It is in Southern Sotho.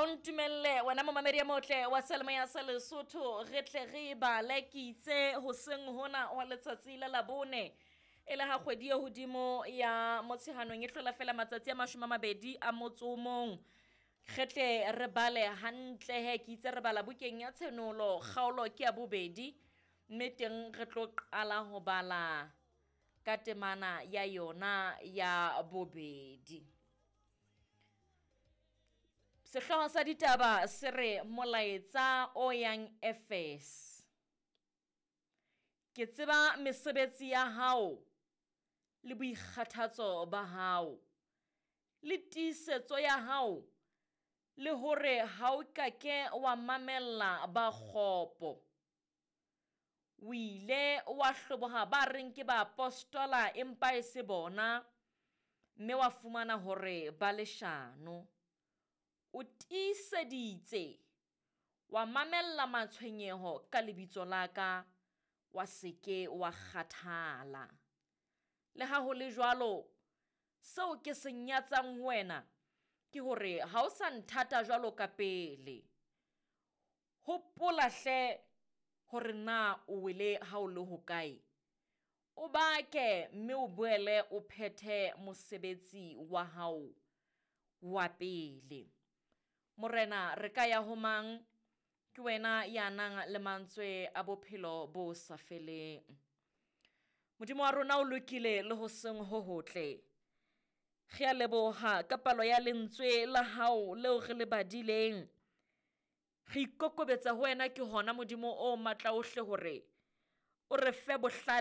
o ntumelle wena momamedi ya motle wa selemoya sa Lesotho, re tle re e bale. Ke itse hoseng hona wa letsatsi la Labone, e le ha kgwedi e hodimo ya Motsheanong e hlola fela matsatsi a 21, re tle re bale hantle he. Ke itse re bala bukeng ya Tshenolo, kgaolo ke ya bobedi, mme teng re tlo qala ho bala ka temana ya yona ya bobedi. Sehlooho sa ditaba se re molaetsa o yang Efese. Ke tseba mesebetsi ya hao le boikgathatso ba hao le tiisetso ya hao, le hore ha o ka ke wa mamella ba kgopo. O ile wa hloboha ba reng ke baapostola empa e se bona, mme wa fumana hore ba leshano. O tiiseditse, wa mamella matshwenyeho ka lebitso la ka, wa se ke wa kgathala. Le ha ho le jwalo, seo ke se nyatsang ho wena ke hore ha o sa nthata jwalo ka pele. Hopola hle hore na o wele ha o le hokae, o bake mme o boele o phethe mosebetsi wa hao wa pele. Morena, re ka ya ho mang? Ke wena ya nang le mantswe a bophelo bo sa feleng. Modimo wa rona o lokile le ho seng ho hotle. Re a leboha ka palo ya lentswe la hao leo re le badileng. Re ikokobetsa ho wena ke hona, Modimo o matla ohle, hore o re fe bohlale.